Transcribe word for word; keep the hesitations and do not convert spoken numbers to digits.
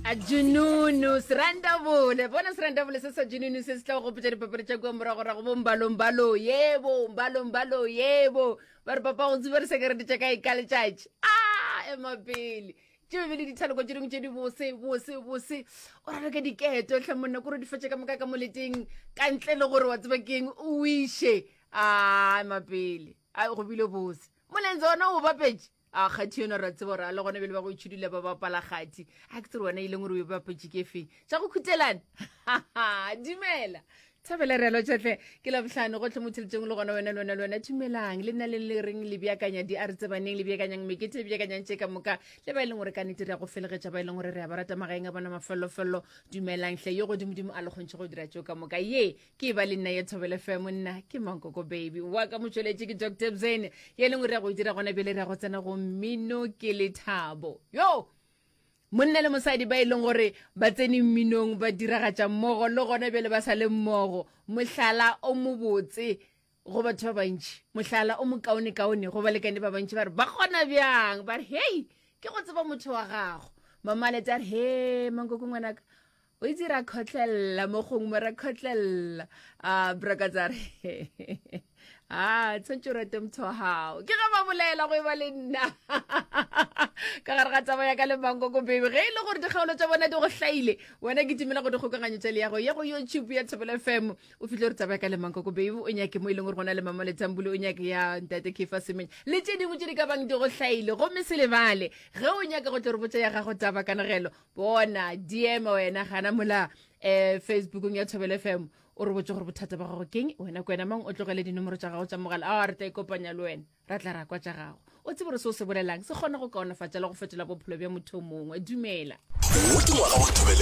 A Jununu serandabole bona serandabole se sa Jununu se se tla go gopotša dipapadi tša kua moragorago bo mbalombalo yebo mbalombalo yebo ba re papa go tsiba re sekerete tša kae ka letšatši a ema pele tše be le dithaloko tše dingwe tše di bose bose bose o raloke diketo tlhe monna kore di fetše ka moka ka moleteng ka ntle le gore wa tseba keng o iše a ema pele a go bile bose molenze ona o bapetše a kgathi yona ra tseba gore a le gona bele ba go itšhudula ba bapala kgathi a ke tsere wena e leng gore o e bapetše ke feng tša go khutelana dumela thabela re alotšhatlhe ke labohlano gotlhe mo theletšeng le gona wena le wena le wena dumelang le nna le le reng le beakanya di a re tsebaneng le beakanyang mekete le beakanyang tše ka moka le ba e leng gore ka nnete re ya go felegetša ba e leng gore re ya ba rata magaeng a bona mafellofello dumelang hle yo godimodimo a le kgontšhe go dira tšeo ka moka ye ke ba le nna ye thobele fm nna ke mankoko baby wa ka motšweletše ke dr bzene ye leng gore ya go e dira gona bjale re ya go tsena go mmino ke lethabo yo monna le mosadi ba e leng gore ba tsene mminong ba diragatša mmogo le gona bjale ba sa le mmogo mohlala o mobotse go batho ba bantši mohlala o mokaonekaone go balekane ba bantši ba re ba kgona bjang ba re hei ke go tseba motho wa gago mamalete a re he mankoko ngwanaka o itse ra kgotlelela mo gongwe mo ra kgotlelela a brakatsa re a tshwanetse o rate motho wa gago ke ga ba bolela go e ba le nna ka gare ga taba ya ka le mankoko baby ge e le gore dikgaolo tša bona di go hlaile wena ke timela go dikgokaganyo tša leago ya go youtube ya thobela fm o fitlhe gore taba ya ka le mankoko baby o nyake mo e leng gore go na le mama letambule o nyake ya ntate kefa semenya le tše dingwe tše di ka bang di go hlaile gomme se lebale ge o nyaka go tlo re botša ya gago taba kanegelo bona dm wena gana mola um facebookong ya thobela fm o re botse gore bothata ba gago keng wena ke wena mang o tlogele dinomoro tša gago tša mogala a re tla ikopanya le wena ra tla ra kwa tša gago o tsebe gore se o se bolelang se kgone go kaonafatša le go fetola bophelo bja motho o mongwe dumela wo ke ngwaga wa thobele